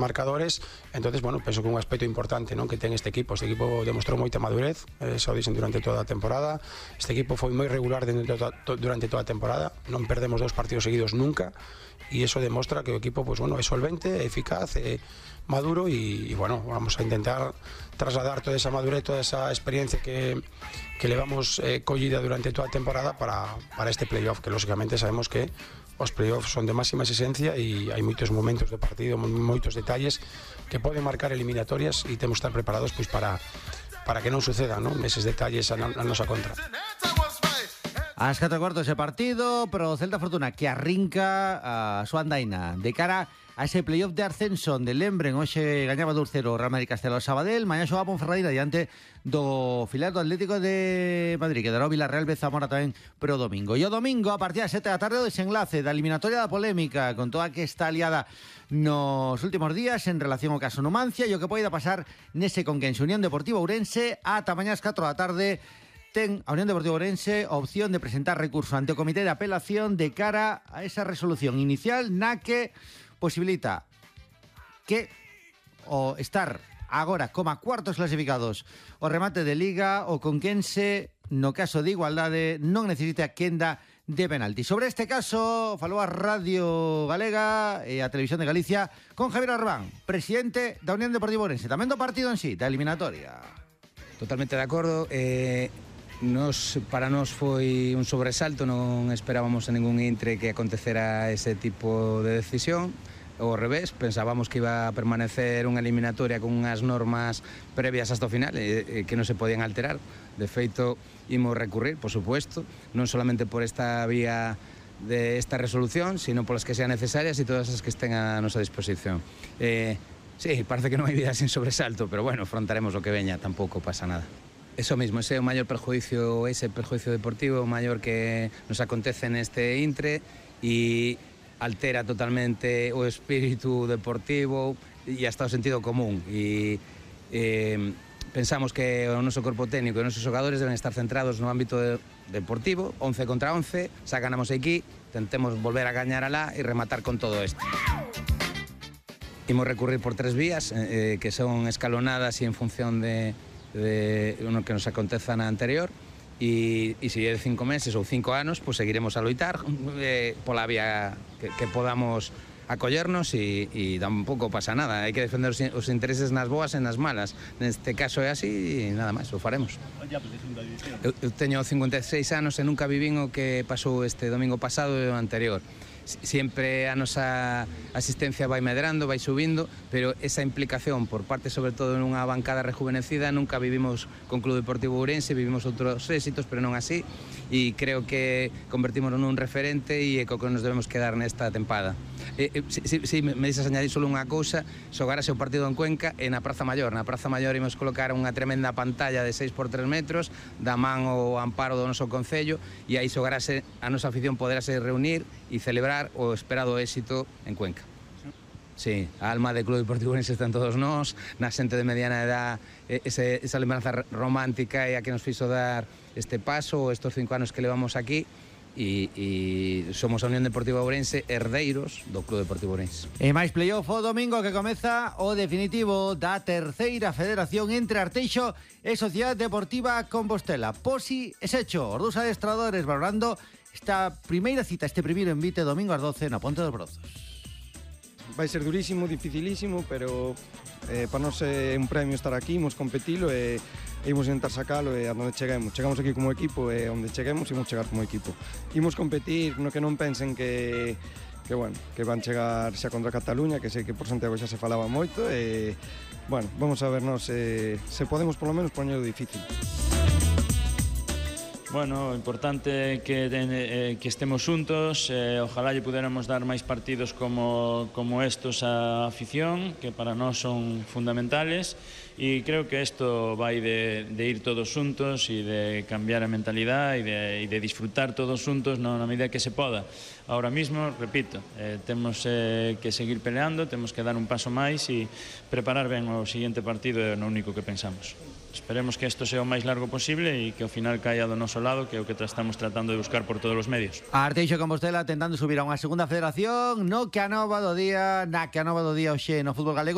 marcadores. Entonces, bueno, penso que un aspecto importante, non, que ten este equipo demostrou moita madurez, xa o dixen durante toda a temporada. Este equipo foi moi regular durante toda a temporada, non perdemos 2 partidos seguidos nunca, e iso demostra que o equipo, pues, bueno, é solvente, é eficaz, é maduro, e bueno, vamos a intentar trasladar toda esa madurez, toda esa experiencia que levamos collida durante toda a temporada para este playoff, que lógicamente sabemos que os playoffs son de máxima exigencia e hai moitos momentos do partido, moitos detalles que poden marcar eliminatorias, e temos que estar preparados, pois, para que non sucedan, non, eses detalles a nosa contra. Ás 4:15 ese partido, pero o Celta Fortuna que arrinca a súa andaina de cara a ese playoff de ascenso onde lembren, hoxe gañaba 2-0 o Real Madrid Castelo Sabadell, mañá xoga Ponferradina diante do filial do Atlético de Madrid, que dará o Villarreal B Zamora tamén pro domingo. E o domingo, a partir das 7 da tarde, o desenlace da eliminatoria da polémica con toda que está aliada nos últimos días en relación ao caso Numancia e o que poida pasar nese Conquense Unión Deportiva Ourense. Ata mañá ás 4 da tarde ten a Unión Deportiva Ourense a opción de presentar recurso ante o Comité de Apelación de cara a esa resolución inicial na que posibilita que o estar agora como cuartos clasificados o remate de Liga, o Conquense no caso de igualdade non necesita a quenda de penalti. Sobre este caso falou a Radio Galega e a Televisión de Galicia con Javier Arbán, presidente da Unión Deportiva Ourense, tamén do partido en sí, da eliminatoria. Totalmente de acordo. Para nós foi un sobresalto, non esperábamos en ningún intre que acontecera ese tipo de decisión. Ao revés, pensábamos que iba a permanecer unha eliminatoria con unhas normas previas hasta o final que non se podían alterar. De feito, imos recurrir, por supuesto, non solamente por esta vía de esta resolución, sino polas que sean necesarias e todas as que estén a nosa disposición. Sí, parece que non hai vida sin sobresalto, pero bueno, afrontaremos o que veña, tampouco pasa nada. Eso mismo, ese é o maior perjuicio, ese perjuicio deportivo, o maior que nos acontece neste intre, e altera totalmente o espírito deportivo e hasta o sentido común. E pensamos que o noso corpo técnico e os nosos xogadores deben estar centrados no ámbito deportivo, 11 contra 11, xa ganamos aquí, tentemos volver a gañar alá e rematar con todo isto. Imos recurrir por 3 vías que son escalonadas e en función de lo que nos aconteza na anterior, e se é de 5 meses ou 5 anos, pues seguiremos a loitar pola vía que podamos acollernos, e tampouco pasa nada, hai que defender os intereses nas boas e nas malas. Neste caso é así e nada máis, o faremos. Eu teño 56 anos e nunca vivín o que pasou este domingo pasado e o anterior. Siempre a nosa asistencia vai medrando, vai subindo, pero esa implicación por parte, sobre todo, nunha bancada rejuvenecida, nunca vivimos con Club Deportivo Ourense, vivimos outros éxitos, pero non así, e creo que convertímonos nun referente e é co que nos debemos quedar nesta tempada. Si me deixas añadir solo unha cousa, xogárase o partido en Cuenca e na Praza Maior. Na Praza Maior imos colocar unha tremenda pantalla de 6 por 3 metros, da man o amparo do noso concello, e aí xogárase, a nosa afición poderase reunir e celebrar o esperado éxito en Cuenca. Sí, a alma de Club Deportivo Ourense está en todos nós, na xente de mediana edad, esa lembranza romántica é a que nos fixo dar este paso, estos 5 anos que levamos aquí, e somos a Unión Deportiva Ourense, herdeiros do Club Deportivo Ourense. E máis playoff o domingo, que comeza o definitivo da terceira federación entre Arteixo e Sociedade Deportiva Compostela. Posi e Secho, os dous adestradores valorando esta primeira cita, este primeiro envite domingo ás 12 na Ponte dos Brozos. Vai ser durísimo, dificilísimo, pero para nós é un premio estar aquí, imos competilo e imos intentar sacalo e a onde cheguemos. Chegamos aquí como equipo e onde cheguemos imos chegar como equipo. Imos competir, no que non pensen que van chegar xa contra Cataluña, que sei que por Santiago xa se falaba moito e, bueno, vamos a vernos se podemos polo menos poñelo difícil. Bueno, o importante é que estemos xuntos, ojalá lle puderamos dar máis partidos como estos á afición, que para nós son fundamentales, e creo que isto vai de ir todos xuntos e de cambiar a mentalidade e de disfrutar todos xuntos na medida que se poda. Ahora mismo, repito, temos que seguir peleando, temos que dar un paso máis e preparar ben o seguinte partido, é o único que pensamos. Esperemos que isto sea o máis largo posible e que ao final caia do noso lado, que é o que estamos tratando de buscar por todos os medios. Arteixo Compostela tentando subir a unha segunda federación na que anova do día hoxe no fútbol galego.